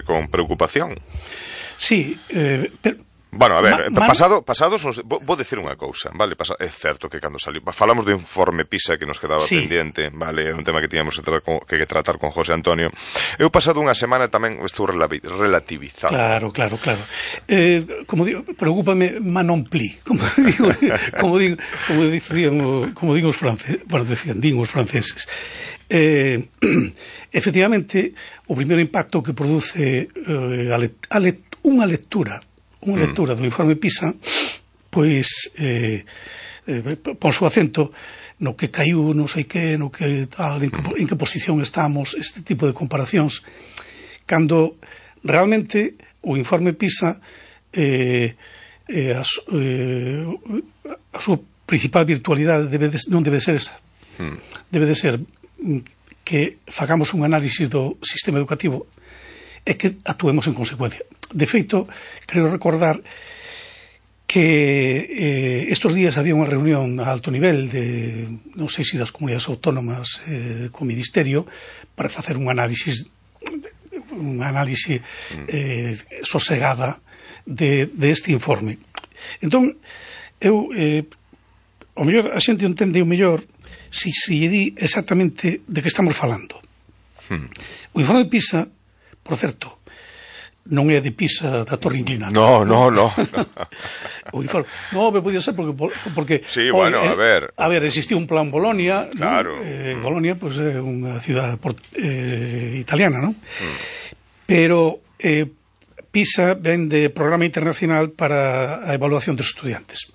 con preocupación. Sí, pero bueno, a ver, pasados vou dicir unha cousa, vale? É certo que cando saliu, falamos do informe PISA que nos quedaba pendiente, vale? É un tema que tiñamos que tratar con José Antonio. Eu pasado unha semana tamén estou relativizado. Claro. Como digo, preocúpame non pli, como digo os franceses, bueno, din os franceses. Efectivamente, o primeiro impacto que produce unha lectura do informe PISA, pois pon o acento no que caiu, non sei que, no que tal, en que posición estamos, este tipo de comparacións, cando realmente o informe PISA a súa principal virtualidade non debe ser esa. Debe de ser que fagamos un análisis do sistema educativo e que actuemos en consecuencia. De feito, creo recordar que estos días había unha reunión a alto nivel de, non sei se das comunidades autónomas co Ministerio, para facer un análisis sosegada de este informe. Entón, eu o mellor a xente entende o mellor se lle di exactamente de que estamos falando. O informe PISA, por certo, non é de PISA da Torre Inclinada. No. O informe, pero podía ser porque sí, bueno, a ver, existiu un plan Bolonia, claro. Bolonia, pois é unha cidade italiana, non? Pero PISA ven de Programa Internacional para a Evaluación dos Estudiantes.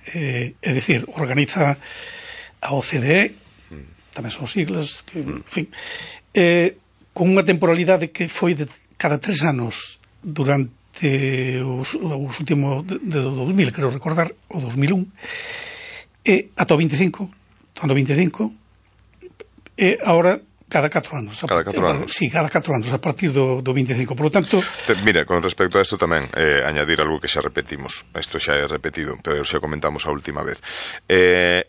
É dicir, organiza a OCDE, tamén son siglas, que, en fin, con unha temporalidade que foi de cada 3 anos durante os últimos de 2000, creo recordar, o 2001, e ata o 25, e agora cada 4 anos. Cada 4 anos. Sí, cada 4 anos, a partir do 25. Por lo tanto... Mira, con respecto a isto tamén, añadir algo que xa repetimos. Isto xa é repetido, pero xa comentamos a última vez. É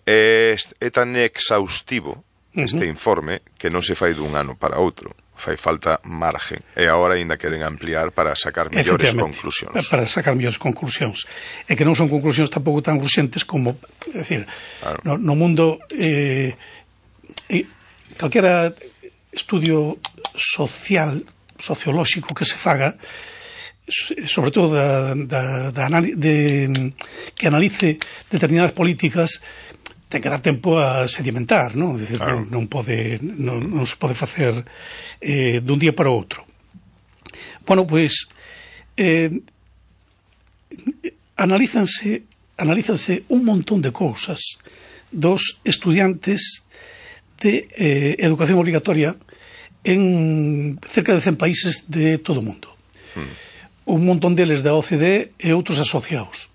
tan exhaustivo este informe que non se fai dun ano para outro. Fai falta margen. E agora ainda queren ampliar para sacar mellores conclusións. Para sacar mellores conclusións. E que non son conclusións tampouco tan urxentes como, é dicir, claro. no mundo calquera estudio sociolóxico que se faga, sobre todo que analice determinadas políticas, ten que dar tempo a sedimentar, non? É dicir, claro. non se pode facer dun día para outro. Bueno, pois analízanse un montón de cousas dos estudiantes de educación obligatoria en cerca de 100 países de todo o mundo. Un montón deles da OCDE e outros asociados.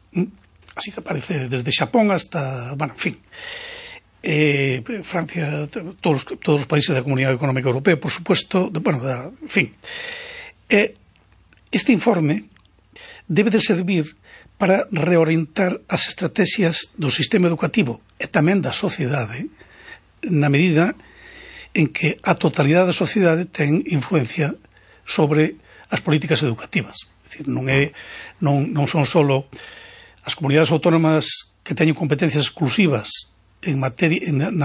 Así que aparece desde Xapón hasta, bueno, en fin, Francia, todos os países da Comunidade Económica Europea, por supuesto, bueno, en fin. Este informe debe de servir para reorientar as estrategias do sistema educativo e tamén da sociedade, na medida en que a totalidade da sociedade ten influencia sobre as políticas educativas. É dicir, non son só as comunidades autónomas que teñen competencias exclusivas na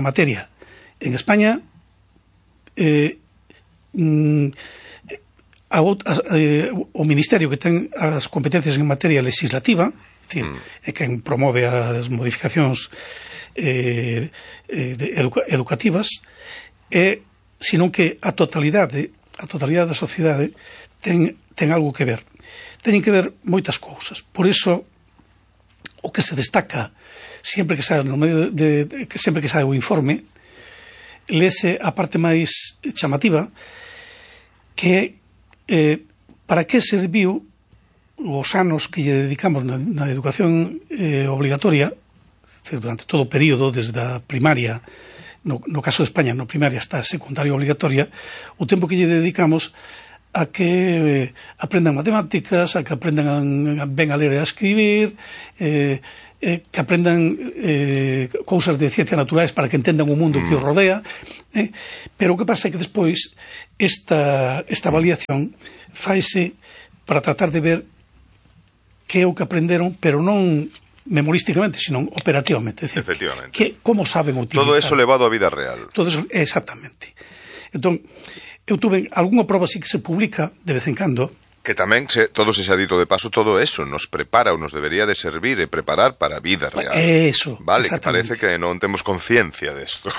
materia. En España o Ministerio que ten as competencias en materia legislativa, é dicir, é quen promove as modificacións educativas, senón que a totalidade da sociedade ten algo que ver. Teñen que ver moitas cousas. Por iso, o que se destaca sempre que sae o informe, lese a parte máis chamativa, que para que serviu os anos que lle dedicamos na educación obligatoria, durante todo o período, desde a primaria, no caso de España, no primaria hasta a secundaria obligatoria, o tempo que lle dedicamos a que aprendan matemáticas, a que aprendan ben a ler e a escribir, que aprendan cousas de ciencias naturais para que entendan o mundo que os rodea, pero o que pasa é que despois esta avaliación faise para tratar de ver que é o que aprenderon, pero non memorísticamente, sino operativamente. Decir, efectivamente. Como saben utilizar. Todo eso levado á vida real. Todo eso, exactamente. Entón, eu tuve algunha proba así que se publica de vez en cando. Que tamén, todo se xa dito de paso, todo eso nos prepara ou nos debería de servir e preparar para a vida real. Eso, vale, que parece que non temos conciencia desto.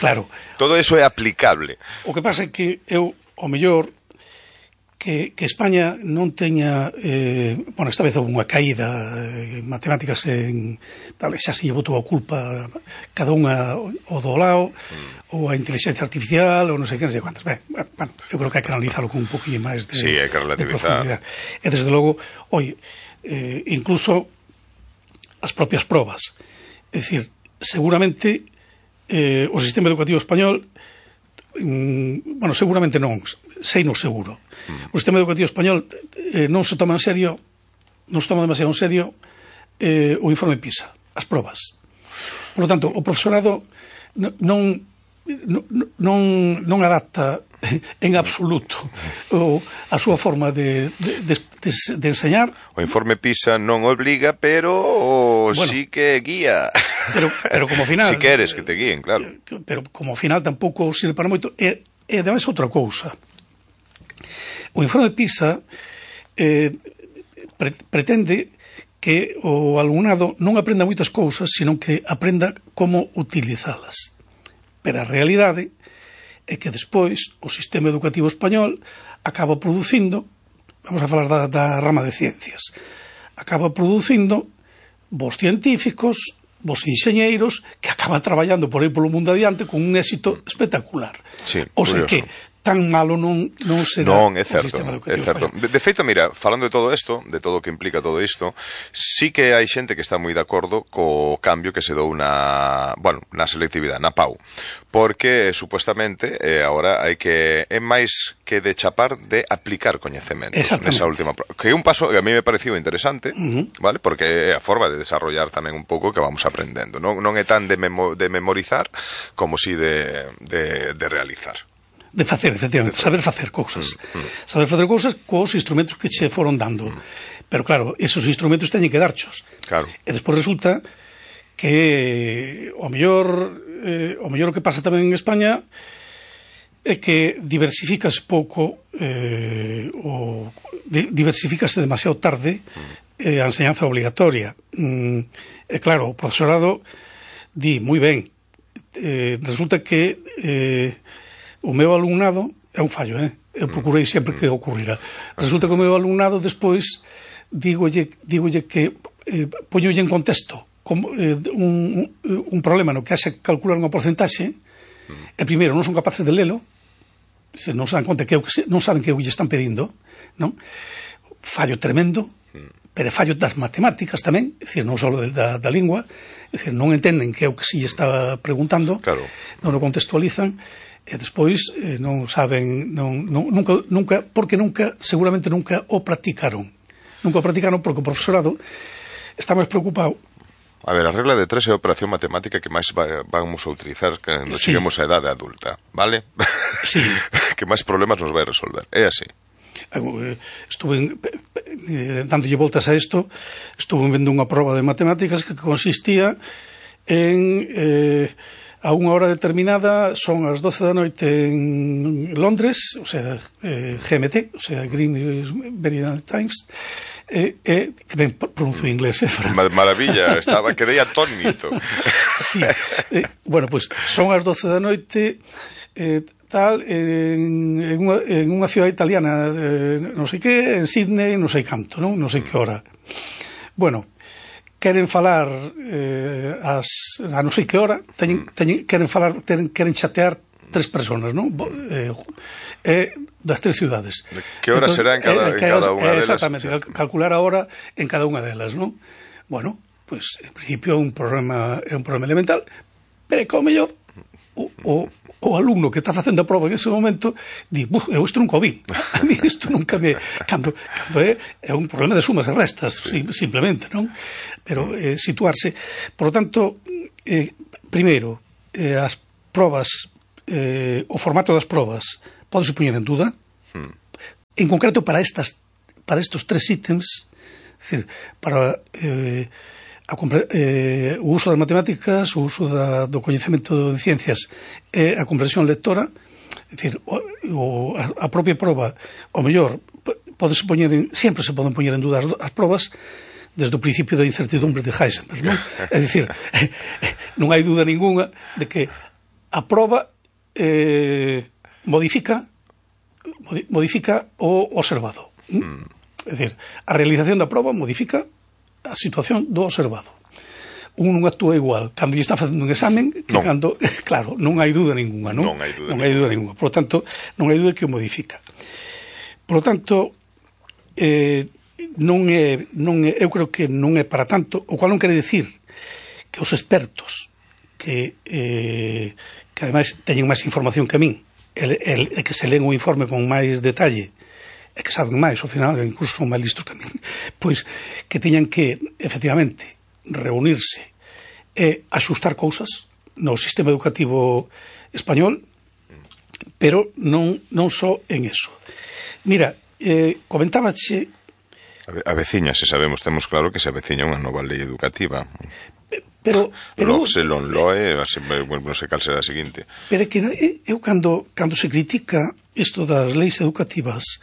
Claro. Todo eso é aplicable. O que pasa é que eu, ao mellor, que España non teña esta vez houve unha caída en matemáticas tal, xa se llevou toda a culpa cada unha o do lado ou a inteligencia artificial ou non sei que, non sei cuántas. Eu creo que hai que analizarlo con un poquinho máis de, sí, hai que relativizar. E desde logo, incluso as propias probas, é dicir, seguramente o sistema educativo español seguramente non, sei no seguro. O sistema educativo español non se toma en serio, non se toma demasiado en serio o informe PISA, as probas. Por lo tanto, o profesorado non adapta en absoluto a súa forma de enseñar. O informe PISA non obliga, pero sí que guía. Pero como final... Si queres que te guíen, claro. Pero como final tampouco sirve para moito. E ademais outra cousa. O informe PISA pretende que o alumnado non aprenda moitas cousas, sino que aprenda como utilizalas. Pero a realidade é que despois o sistema educativo español acaba producindo, vamos a falar da rama de ciencias, acaba producindo vos científicos, vos enxeñeiros, que acaban traballando por aí polo mundo adiante con un éxito espectacular. Sí, o sea que tan malo non será o sistema educativo español. De feito, mira, falando de todo isto, de todo o que implica todo isto, sí que hai xente que está moi de acordo co cambio que se dou na selectividade, na PAU, porque supuestamente agora hai que é máis que de chapar, de aplicar coñecementos nesa última prova, que é un paso que a mí me pareceu interesante, vale? Porque é a forma de desarrollar tamén un pouco que vamos aprendendo, non é tan de memorizar como si de realizar. De facer, efectivamente, saber facer cousas. Saber facer cousas cos instrumentos que che foron dando. Pero claro, esos instrumentos teñen que darchos. Claro. E despois resulta que o mellor o que pasa tamén en España é que diversificase pouco diversificase demasiado tarde a enseñanza obligatoria. E claro, o profesorado di moi ben. Resulta que o meu alumnado é un fallo, eu procurei sempre que ocurrira. Resulta que o meu alumnado despois dígolle que poñolle en contexto como, un problema no que haxe calcular unha porcentaxe e primeiro non son capaces de lelo, non se dan conta que non saben que o lle están pedindo, non? Fallo tremendo, pero fallo das matemáticas tamén, é dicir, non só da lingua, é dicir, non entenden que é o que se lle estaba preguntando, claro. Non o contextualizan, e despois non saben, nunca, porque seguramente nunca o practicaron. Nunca o practicaron porque o profesorado está máis preocupado. A ver, a regla de 3 é a operación matemática que máis vamos a utilizar cando cheguemos a edade adulta, vale? Sí. Que máis problemas nos vai resolver, é así. Estuve dándolle voltas a isto, estuve vendo unha proba de matemáticas que consistía en a unha hora determinada, son as 12 da noite en Londres, o sea, GMT, o sea, Greenwich Mean Times, que ben pronuncio en inglés. Maravilla, quedei atónito. Sí, bueno, pues son as 12 da noite en unha cidade italiana, non sei que, en Sydney, non sei canto, non sei que hora. Bueno, queren falar a non sei que hora, queren chatear 3 personas, non? Das 3 ciudades. Que hora será en cada unha delas? Exactamente, calcular a hora en cada unha delas, non? Bueno, pues en principio é un problema elemental, pero que ao mellor o o alumno que está facendo a prova en ese momento di, eu isto nunca o vi, a mí isto nunca me... Cando é un problema de sumas e restas, simplemente, non? Pero situarse. Por lo tanto, primeiro, as probas, o formato das probas pode se poñer en duda, en concreto para estos tres ítems, é dicir, para o uso das matemáticas, o uso do coñecemento de ciencias e a comprensión lectora, é dicir, a propia proba, o mellor, sempre se poden poñer en duda as probas desde o principio da incertidumbre de Heisenberg, non? É dicir, non hai duda ninguna de que a proba modifica o observado. É dicir, a realización da proba modifica a situación do observado. Un non actúa igual cando lle está facendo un examen que cando, claro, non hai duda ninguna, non? Non hai duda ninguna. Por lo tanto, non hai duda que o modifica. Por lo tanto, eu creo que non é para tanto, o cual non quere decir que os expertos que ademais teñen máis información que a min e que se leen o informe con máis detalle e que saben máis, ao final, incluso son máis listos que a min, pois que teñan que, efectivamente, reunirse e axustar cousas no sistema educativo español, pero non só en eso. Mira, comentábache... Aveciñase, sabemos, temos claro que se aveciña unha nova lei educativa. Pero se non loe, non sei cal será a seguinte. Pero é que eu cando se critica isto das leis educativas,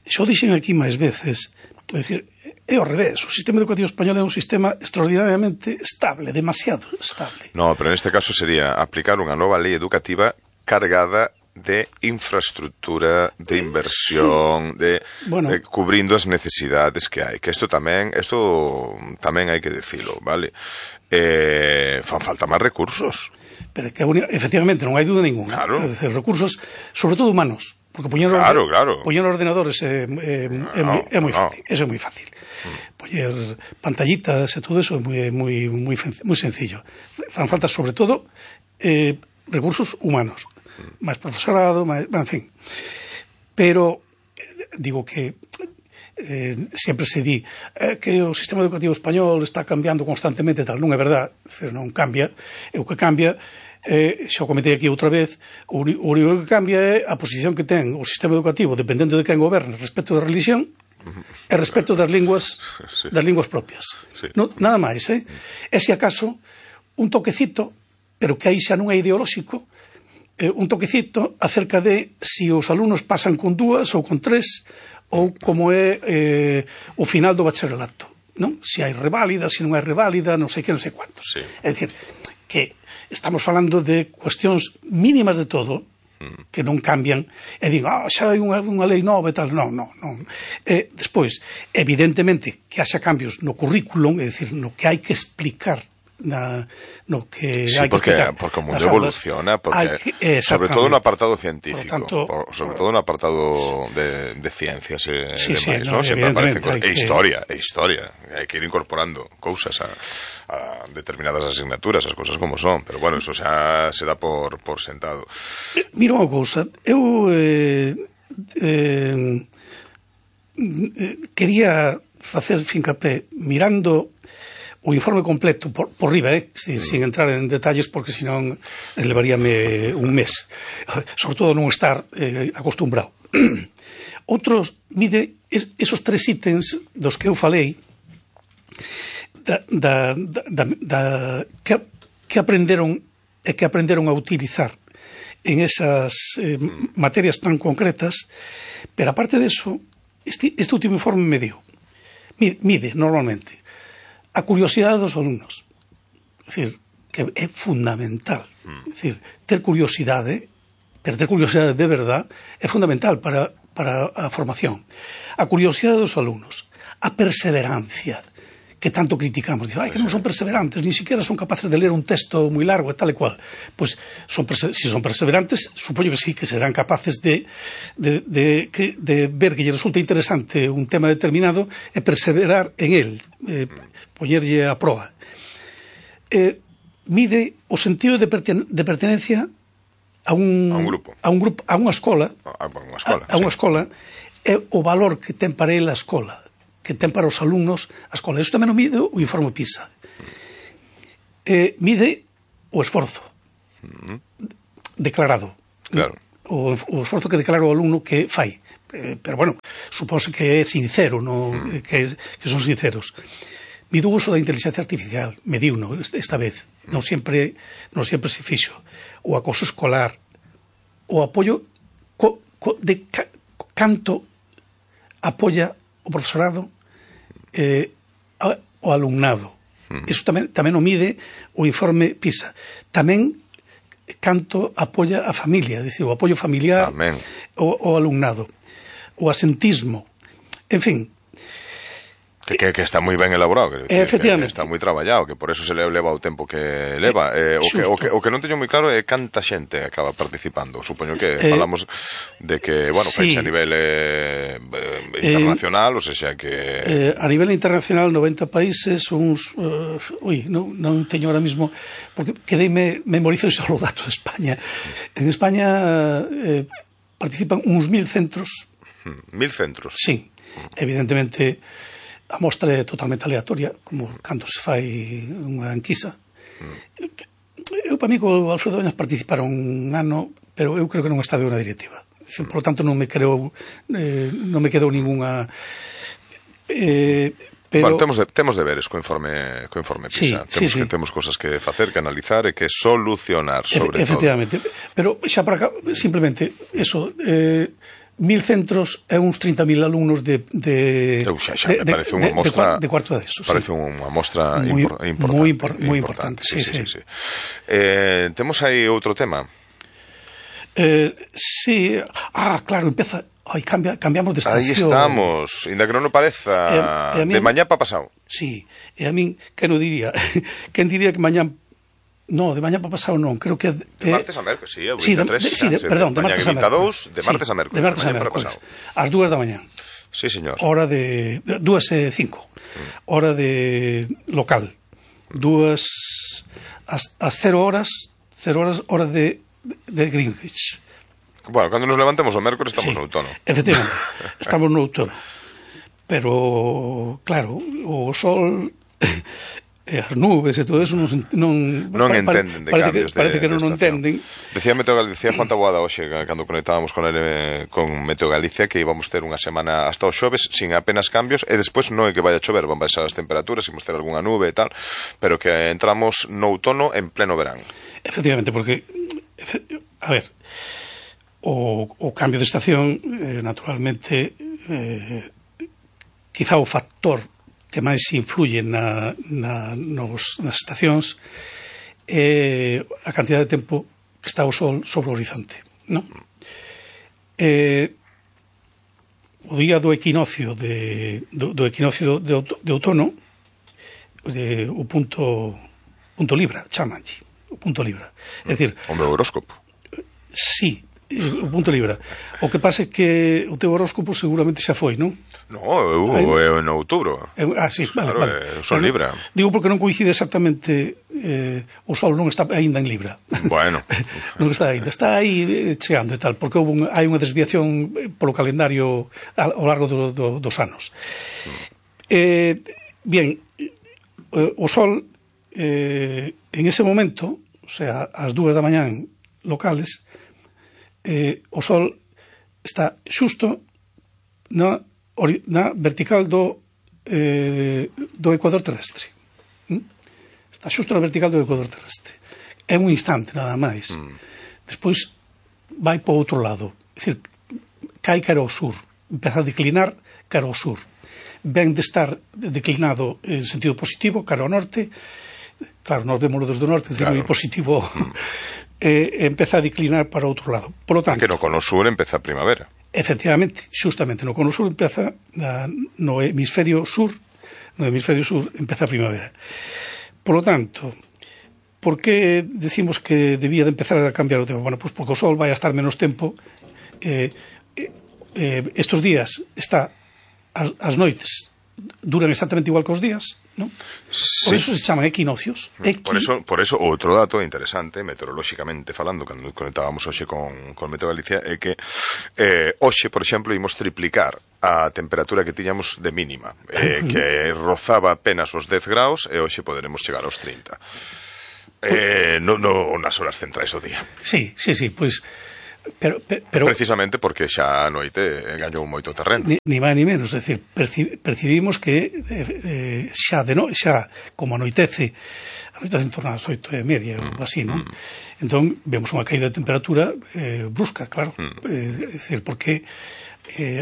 xo dixen aquí máis veces, é dicir, é ao revés, o sistema educativo español é un sistema extraordinariamente estable, demasiado estable. No, pero neste caso sería aplicar unha nova lei educativa cargada de infraestructura, de inversión, de cubrindo as necesidades que hai, que isto tamén hai que decilo, vale? Fan falta máis recursos. Pero que efectivamente non hai duda ninguna. Claro. É dicir, recursos, sobre todo humanos, porque poñer ordenadores é moi fácil, eso é moi fácil. Poñer pantallitas e todo eso é moi sencillo. Fan falta sobre todo recursos humanos, máis profesorado, en fin. Pero digo que sempre se di que o sistema educativo español está cambiando constantemente, tal, non é verdad, non cambia, o que cambia xa o comentei aquí outra vez, o único que cambia é a posición que ten o sistema educativo dependendo de quen goberne respecto da religión e respecto das linguas propias. Nada máis, e se acaso un toquecito, pero que aí xa non é ideolóxico, un toquecito acerca de se os alumnos pasan con 2 ou con 3 ou como é o final do bacharelato, non? Se hai reválida, se non hai reválida, non sei que, non sei cuantos. É dicir, que estamos falando de cuestións mínimas de todo que non cambian e digo, xa hai unha lei nova e tal. Non. Despois, evidentemente que haxa cambios no currículum, é dicir, no que hai que explicar no que sí, porque o mundo evoluciona, sobre todo no apartado científico, sobre todo no apartado de ciencias e demais, ¿no? Sempre aparecen cosas, e historia, hai que ir incorporando cousas a determinadas asignaturas, as cousas como son, pero bueno, eso xa se dá por sentado. Mira unha cousa, eu quería facer fincapé mirando o informe completo por riba, sin entrar en detalles, porque senón levaríame un mes, sobre todo non estar acostumbrado. Outros, mide esos 3 ítems dos que eu falei que aprenderon a utilizar en esas materias tan concretas, pero aparte de eso, este último informe mide normalmente a curiosidade dos alumnos. É dicir, que é fundamental. É dicir, ter curiosidade, pero ter curiosidade de verdad, é fundamental para a formación. A curiosidade dos alumnos, a perseverancia, que tanto criticamos. Dicen, que non son perseverantes, ni siquiera son capaces de ler un texto moi largo e tal e cual. Pois, si son perseverantes, supoño que sí, que serán capaces de ver que lle resulta interesante un tema determinado e perseverar en él, poñerlle a proba. Mide o sentido de pertenencia a unha escola, é o valor que ten para ele a escola, que ten para os alumnos a escola. Isto tamén o mide o informe PISA. Mide o esforzo declarado. Claro. O esforzo que declara o alumno que fai. Pero, bueno, supóse que é sincero, que son sinceros. Mide o uso da inteligencia artificial, mediuno esta vez. Non sempre se fixo. O acoso escolar, o apoio de canto apoia o profesorado o alumnado. Iso tamén o mide o informe PISA. Tamén canto apoia a familia, dicir, o apoio familiar o alumnado, o asentismo, en fin. Que está moi ben elaborado, efectivamente. Que está moi traballado, que por eso se leva o tempo que leva. O que non teño moi claro é canta xente acaba participando. Supoño que falamos de que, bueno, sí, a nivel internacional, ou seja, que... a nivel internacional, 90 países, non teño ahora mismo, porque memorizo só o dato de España. En España participan uns 1000 centros. 1000 centros? Sí, evidentemente... A mostra é totalmente aleatoria, como cando se fai unha enquisa. Eu, para mí, co Alfredo Doñas participaron un ano, pero eu creo que non estaba unha directiva. Por lo tanto, non me quedou ninguna... Bueno, temos deberes co informe PISA. Temos cosas que facer, que analizar e que solucionar, sobre todo. Efectivamente. Pero xa para acá, simplemente, eso... 1000 centros e uns 30.000 alumnos de parece unha mostra de cuarto de eso. Parece unha mostra moi importante. Sí. Temos aí outro tema. Sí. Claro, empeza. Cambiamos de estación. Aí estamos, ainda que non o pareza, de mañá pa pasado. Sí, e a min, quen o diría? Quen diría que mañá... No, de mañá para pasado non, creo que... De martes a mércoles, sí, perdón, de martes a mércoles. De martes a mércoles. De martes a mércoles, ás 2 da mañá. Sí, señor. Hora de... 2:05, hora de local. As 0 horas, hora de Greenwich. Bueno, cando nos levantemos o mércoles estamos no outono. Efectivamente, estamos no outono. Pero, claro, o sol... as nubes e todo eso non entenden de cambios. Parece que non entenden. Decía Juan Taboada hoxe, cando conectábamos con Meteo Galicia, que íbamos ter unha semana hasta os xoves sin apenas cambios, e despois non é que vaya a chover, van baixar as temperaturas, imos ter algunha nube e tal, pero que entramos no outono en pleno verán. Efectivamente, porque a ver, o cambio de estación naturalmente quizá o factor que máis influye nas estacións é a cantidad de tempo que está o sol sobre o horizonte, non? O día do equinoccio de outono, o punto libra, chamanlle, o punto libra. É dicir, o meu horóscopo. Sí, o punto libra. O que pasa é que o teu horóscopo seguramente xa foi, non? No, eu en outubro. Sí, vale, claro, vale. Son Libra. Digo porque non coincide exactamente, o sol non está aínda en Libra. Bueno. Non está aínda, está aí chegando e tal, porque hai unha desviación polo calendario ao largo dos anos. Bien, o sol en ese momento, o sea, ás 2 da mañán locales, o sol está xusto na vertical do ecuador terrestre. Está xusto na vertical do ecuador terrestre. É un instante, nada máis. Despois vai para o outro lado. É dicir, cai cara ao sur. Empeza a declinar cara ao sur. Ven de estar declinado en sentido positivo, cara ao norte. Claro, nos vemos desde o norte, claro. Moi positivo. Empeza a declinar para outro lado. Por lo tanto, que no cono sur empeza a primavera. Efectivamente, justamente no cono sur empeza no hemisferio sur empeza a primavera. Por lo tanto, por que decimos que debía de empezar a cambiar o tempo? Bueno, pues porque o sol vai a estar menos tempo. Estos días está as noites duran exactamente igual que os días, ¿no? Por eso se chaman equinocios. Por eso outro dato interesante, meteorolóxicamente falando, cando conectábamos hoxe con Meteo Galicia, é que hoxe, por exemplo, imos triplicar a temperatura que tiñamos de mínima, que rozaba apenas os 10 graus, e hoxe poderemos chegar aos 30. Nas horas centrais do día. Sí, pois... Pero precisamente porque xa a noite gañou moito terreno. Ni máis ni menos, é dicir, percibimos que xa como anoitece en torno ás 8:30 ou así, non? Entón, vemos unha caída de temperatura brusca, claro. É dicir, porque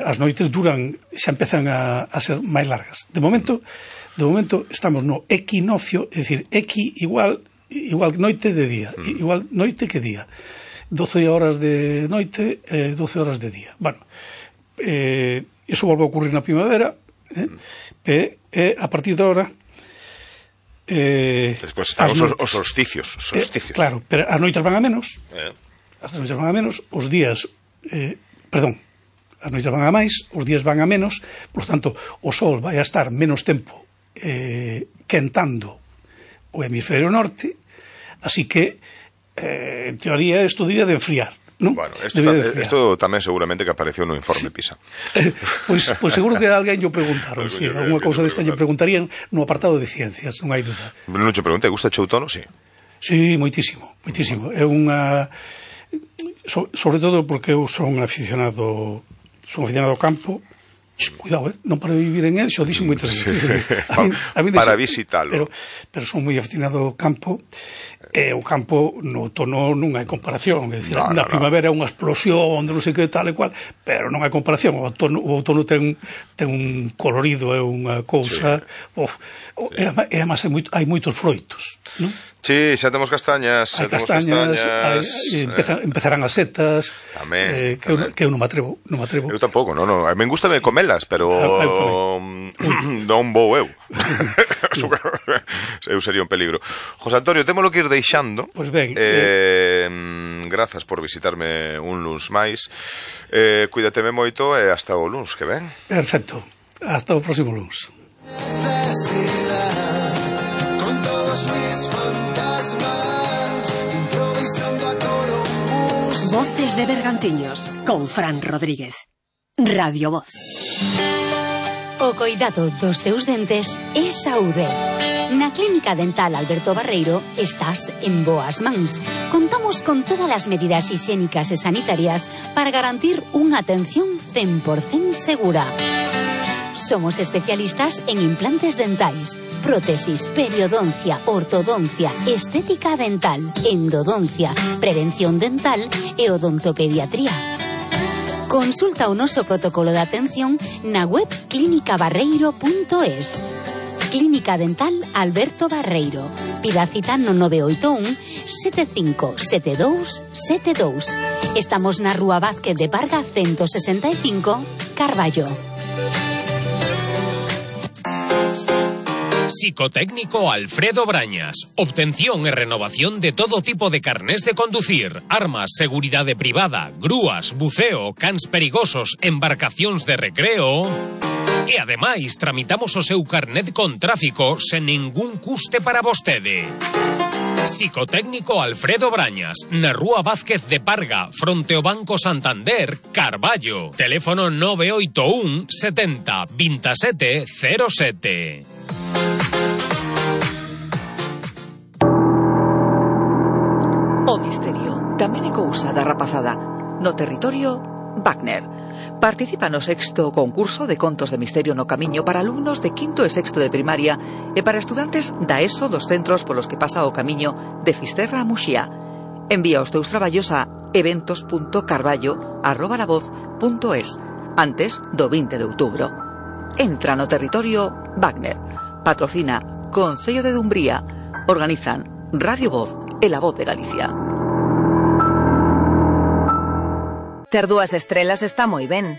as noites xa empezan a ser máis largas. De momento estamos no equinoccio, é dicir, igual noite de día, igual noite que día. 12 horas de noite, 12 horas de día. Bueno, eso volve a ocurrir na primavera, a partir de ahora... Despois están os solsticios. Claro, pero as noites van a menos, os días... as noites van a máis, os días van a menos, por tanto, o sol vai a estar menos tempo quentando o hemisferio norte, así que en teoría isto debía de enfriar, non? Bueno, isto tamén seguramente que apareceu no informe PISA. Pois seguro que alguén lle preguntaron, alguna cousa desta lle preguntarían no apartado de ciencias, non hai dúda. Non che pregunte, gusta o outono, si? Si, moitísimo. É unha... Sobre todo porque eu son aficionado ao campo. Cuidado, non para vivir en él, xo dixen moitas veces. Para visitalo. Pero son moi aficionado ao campo, e o campo no outono non hai comparación, é dicir, na primavera é unha explosión de non sei que tal e cual, pero non hai comparación. O outono ten un colorido, é unha cousa, e además hai moitos froitos, non? Sí, xa temos castañas. Hai castañas, empezarán as setas, que eu non me atrevo. Eu tampouco, non. Me gusta comelas, pero non vou eu. Eu sería un peligro. José Antonio, témolo que ir deixando. Pois ben. Grazas por visitarme un luns máis. Cuídateme moito e hasta o luns que ven. Perfecto. Hasta o próximo luns. Voces de Bergantiños con Fran Rodríguez. Radio Voz. O coidado dos teus dentes é saúde. Na Clínica Dental Alberto Barreiro estás en boas mans. Contamos con todas as medidas higiénicas e sanitarias para garantir unha atención 100% segura. Somos especialistas en implantes dentais, prótesis, periodoncia, ortodoncia, estética dental, endodoncia, prevención dental e odontopediatría. Consulta o noso protocolo de atención na web clinicabarreiro.es. Clínica Dental Alberto Barreiro. Pida cita no 981 7572 72. Estamos na Rúa Vázquez de Parga 165, Carballo. Psicotécnico Alfredo Brañas. Obtención e renovación de todo tipo de carnés de conducir, armas, seguridade privada, grúas, buceo, cans perigosos, embarcacións de recreo. E ademais tramitamos o seu carnet con tráfico sen ningún custe para vostede. Psicotécnico Alfredo Brañas, na Rúa Vázquez de Parga, fronte ao Banco Santander, Carballo. Teléfono 981 70 27 07. O misterio tamén é cousa da rapazada. No territorio, Wagner. Participa no 6º concurso de contos de misterio no camiño para alumnos de 5º e 6º de primaria e para estudantes da ESO dos centros polos que pasa o camiño de Fisterra a Muxía. Envía os teus traballos a eventos.carballo@lavoz.es antes do 20 de outubro. Entra no territorio Wagner. Patrocina Concello de Dumbría. Organizan Radio Voz e La Voz de Galicia. Ter 2 estrelas está moi ben,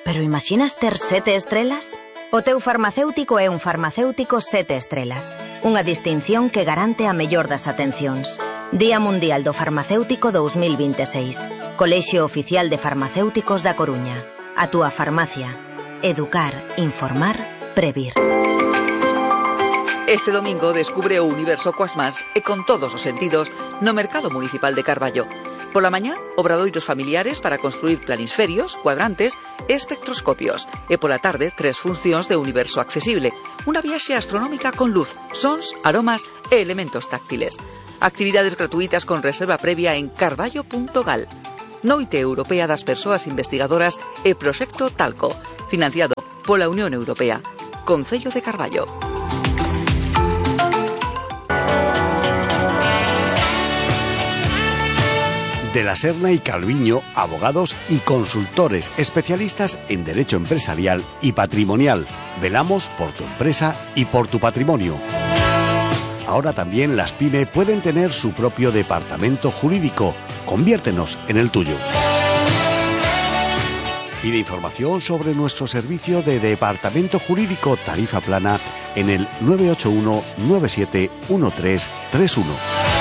pero imaxinas ter 7 estrelas? O teu farmacéutico é un farmacéutico 7 estrelas, unha distinción que garante a mellor das atencións. Día Mundial do Farmacéutico 2026. Colexio Oficial de Farmacéuticos da Coruña. A túa farmacia. Educar, informar, previr. Este domingo descubre o universo coas más e con todos os sentidos no Mercado Municipal de Carballo. Pola mañá, obradoiros familiares para construir planisferios, cuadrantes e espectroscopios. E pola tarde, 3 funcións de universo accesible. Unha viaxe astronómica con luz, sons, aromas e elementos táctiles. Actividades gratuitas con reserva previa en carballo.gal. Noite Europea das Persoas Investigadoras e Proxecto Talco, financiado pola Unión Europea. Concello de Carballo. De la Serna y Calviño, abogados y consultores especialistas en derecho empresarial y patrimonial. Velamos por tu empresa y por tu patrimonio. Ahora también las PYME pueden tener su propio departamento jurídico. Conviértenos en el tuyo. Pide información sobre nuestro servicio de departamento jurídico tarifa plana en el 981 97 1331.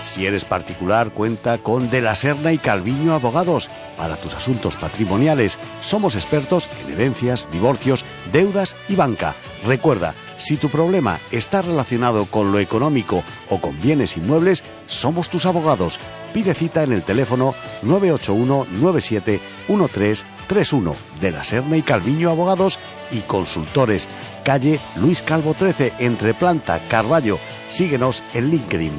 Si eres particular, cuenta con De la Serna y Calviño Abogados. Para tus asuntos patrimoniales, somos expertos en herencias, divorcios, deudas y banca. Recuerda, si tu problema está relacionado con lo económico o con bienes inmuebles, somos tus abogados. Pide cita en el teléfono 981 97 1331. De la Serna y Calviño Abogados y Consultores. Calle Luis Calvo 13, entre Planta, Carballo. Síguenos en LinkedIn.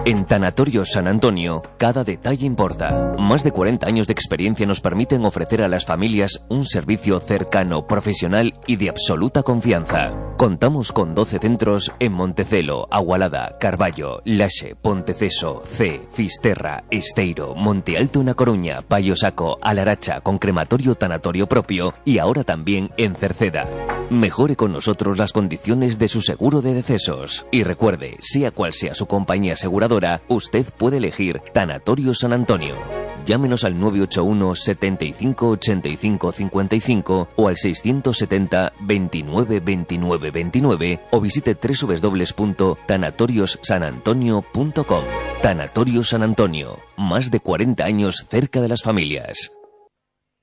En Tanatorio San Antonio, cada detalle importa. Más de 40 años de experiencia nos permiten ofrecer a las familias un servicio cercano, profesional y de absoluta confianza. Contamos con 12 centros en Montecelo, Agualada, Carballo, Laxe, Ponteceso, C, Fisterra, Esteiro, Monte Alto na Coruña, Paio Saco, Alaracha, con crematorio tanatorio propio y ahora también en Cerceda. Mejore con nosotros las condiciones de su seguro de decesos. Y recuerde, sea cual sea su compañía aseguradora, usted puede elegir Tanatorio San Antonio. Llámenos al 981 75 85 55 o al 670 29 29 29 o visite www.tanatoriossanantonio.com. Tanatorio San Antonio, más de 40 años cerca de las familias.